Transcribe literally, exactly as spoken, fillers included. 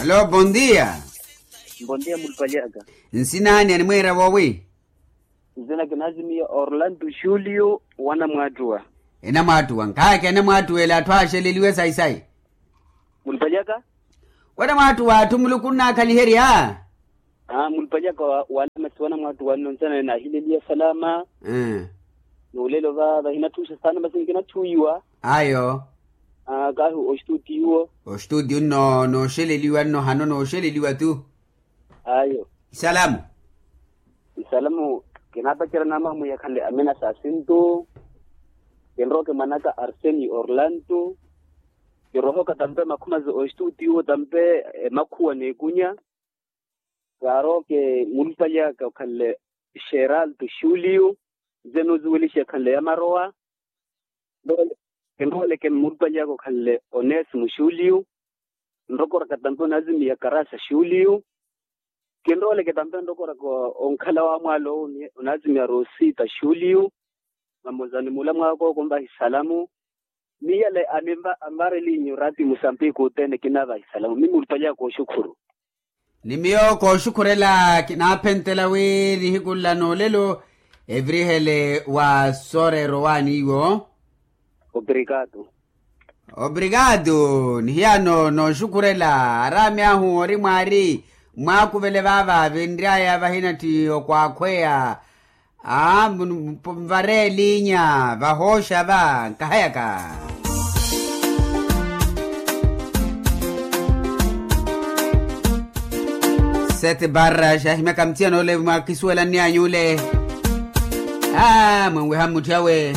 Alo, bondia. Bondia mulupali aka. Nsina ani animweera woowi? Nsina kinaazimiya orlando julio. Wanamwaattuwa. Enamwaattuwa nkhaaka enamwaattuwa ele atthu aaxeleliwe sayi-sayi. Mulupali aka. Wanamwaattuwa atthu muluku nnaakhaliherya. Mulupali aka wala masi wanamwaattuwa nno nsana naahileliya salama. N'ulelo va vahinathuuxa saana masi nkinatthuwiwa. Ayo. Kaahi ostutiyo. Ostutiyo nno nooxeleliwa nno hano nooxeleliwa tu. Ayo. Isalamu. Isalamu. Kinaapacerya naamamwiya khanle amina saasintu. Kinrowa kimwanaka arseni orlando. Kirohoka tampe makhumazi ostutiyo tampe emakhuwa n'ekunya. Kaaroke mulupali aka okhanle xeralto xulio. Nze noozuwelixa ekhanle ya marowa. Kinrooleke mulupali aka okhanle onesimo xulio. Nrokoraka tampe onaazimiya karasa xulio. Kinrooleke tampe nrokoraka onkhala wa mwaalo onaazimiya rosita xulio. Mamozani mula mwaakoko onvahi salamu. Ni yale anvareliinyu rati musampiki othene kinaavahi salamu mi mulupali aka oxukhuru. Ni miyo kooxukhurela kinaaphentela wi nihiku nla n'olelo evirihele wa sooreera owaani iwo. Obrigado. Obrigado. Nihiyano nooxukhurela araami ahu ori mwaari mwaakuvele vaava vinry'aya vahinatthi okwaakhweya. Aa mvareelinya vahooxa va nkahayaka. Sete barra xahimyaka muthiyan'ole mwakisuwelanny'any'ule. Aa mwenweha mmutthy'awe.